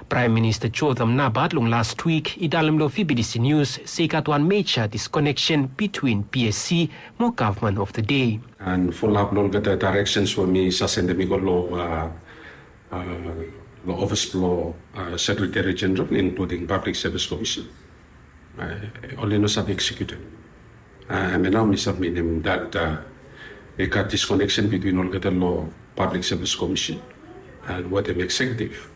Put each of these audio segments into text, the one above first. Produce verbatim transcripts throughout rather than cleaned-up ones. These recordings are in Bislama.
Praem Minista Jotham Napat long las wik i talem long V B T C News se i gat wan meja diskoneksen bitwin P S C mo gavman of the day. And follow up long olgeta directions we mi sa sendem i go long uh, uh, long office blong uh, Secretary General, including Public Service Commission. Uh, oli no save execute. Uh, and now mi submitim that uh, i gat disconnection between olgeta long Public Service Commission and wetem executive.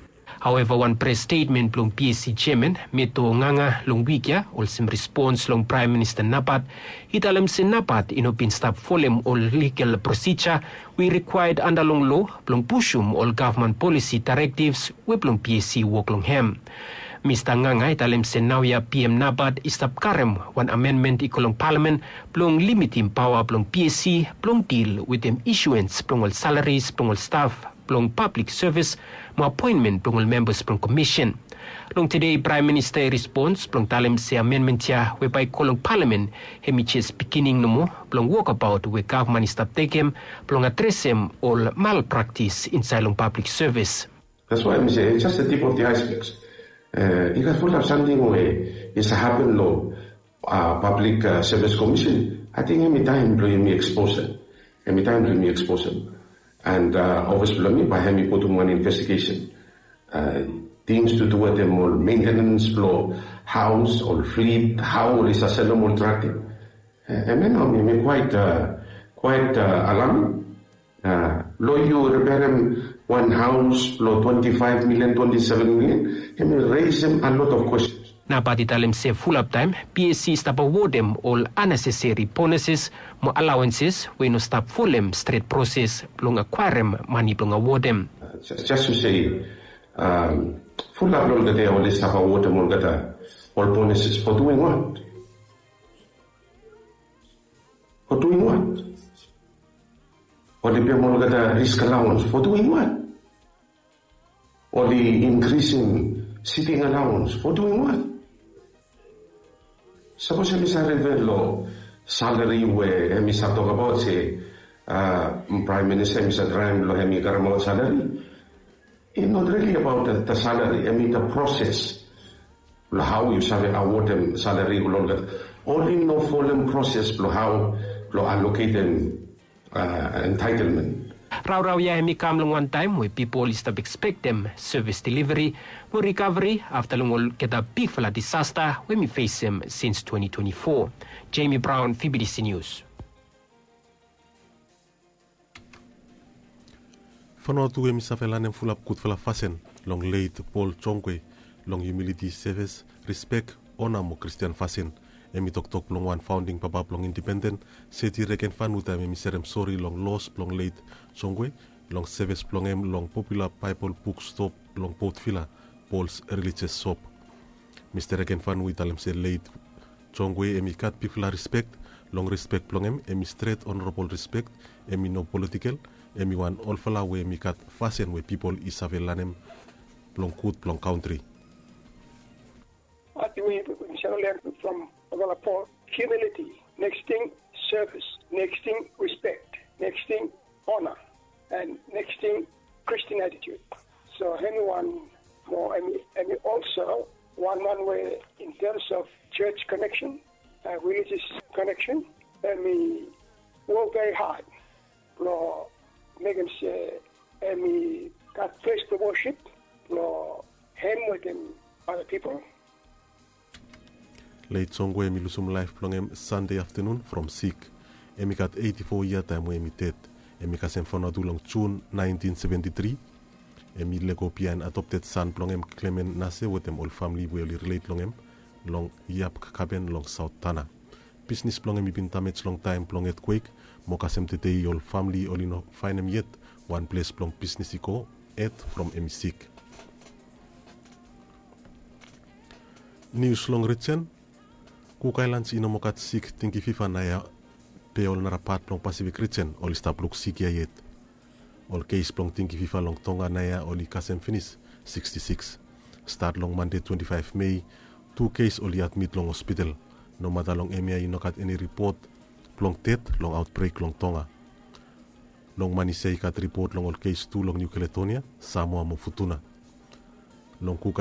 Haueva, wan pres stetmen blong P S C jeaman, Meto Nganga, long wik ya olsem respons long Praem Minista Napat, i talem se Napat i no bin stap folem ol ligal prosija we i rikwaed anda long lo blong pusum ol gavman polisi daerektivs we blong P S C i wok long hem. Mista Nganga i talem se naoia P M Napat i stap karem wan amenmen i go long palamen blong limitim paoa blong P S C blong dil wetem isuens blong ol salaris blong ol staf blong pablik sevis mo apoenmen blong ol membas blong komisen. Long tede Praem Minista i respons blong talem se amenmen ya we bae i go long palamen hem i jes bigining nomo blong wokabaot we gavman i stap tekem blong adresem ol malpraktis insaed long pablik sevis. That's why mi se it's just the tip of the iceberg. Uh, i gat fulap samting we i sa hapen long uh, Public uh, Service Commission. Ating hem i taem blong yumi eksposem. Hem i taem blong yumi eksposem. And uh, ofis blong mi bae hem i putum wan investigation. Uh, things to do wetem ol maintenance blong haos, ol flit, hao oli sa selem ol trak ting. Hemia nao mi quite uh, quite uh, alarming. Uh, lo yu repairem wan haos lo twenty-five million, twenty-seven million, hemi raisem a lot of questions. Napat i talem se fulap taem P S C i stap awodem ol unnecessary bonuses mo allowances we i no stap folem stret proses blong akwaerem mane blong awodem. Uh, just, just to say, um, fulap lo olgeta oli stap awodem olgeta ol bonuses for doing what? For doing what? Oli pem olgeta risk allowance for doing what? Oli inkrisim sitting allowance for doing what? Sapos hemi sa rifea lo salari we hemi sa tokabaot se Praem Minista hemi sa traem lo hemi karemaot salari. It's not really about the, the salary, I mean the process. Lo hao yu save awodem salari lo olgeta. Oli no folem proses lo hao lo aloketem uh, entitlement. Raorao ya hemi kam long wan taem we pipol i stap ekspektem sevis deliveri mo rikaveri afta long olgeta bigfala disasta we hemi fesem sins twenty twenty-four. Jamie Brown, V B T C News. Fanua tu hemi save lanem fulap gudfala fasin long leit Pol Jongwe long humiliti sevis, rispek, ona mo Kristian fasin. Hemi toktok blong wan faonding papa blong indipenden, Seti Regenfanu, taem hemi serem sori long los blong leit Jongwe long sevis blong hem long popula Baebol buk stop long Port Vila, Pol's Religious Shop. Mista Regenfanu i talem se leit Jongwe hemi gat bigfala rispek. Long rispek blong hem hemi stret onorabol rispek, hemi no politikel, hemi wan olfala we hemi gat fasin we pipol i save lanem blong gud blong kantri. What we, we shall learn from Avala Paul? Humility. Next thing, service. Next thing, respect. Next thing, honor. And next thing, Christian attitude. So anyone more, any, any also one man way in terms of church connection, uh, religious connection, and we work very hard. Lo mekem se hemi gat ples blong worship lo hem wetem other people. Leit Jongwe hemi lusum laef blong hem Sande aftanun from sik. Hemi gat eiti fo yia taem we hemi ded. Hemi kasem Vanuatu long Jun naentin seventi tri. Hemi lego biaen adopted san blong hem Klemen Nase wetem ol famle we oli rilet long hem long Yap Kakaben long Saot Tana. Bisnis blong hem i bin damej long taem blong etkwek, mo kasem tede ol famle oli no faenem yet wan ples blong bisnis i go, hed from hem i sik. Nius long rijen. Kuk Aelans i no moa gat sik dengki fiva naoia, be ol nara pat blong Pasifik rijen oli stap luksik ia yet. Ol kes blong dengki fiva long Tonga naoia oli kasem finis siksti siks. Stat long Mande twenti faef Mei, tu kes oli admit long hospital. Nomata long hemia i no gat eni ripot blong ded long aotbrek long Tonga. Long Manise i gat ripot long ol kes tu long Niu Kaledonia, Samoa mo Futuna. Long Kuk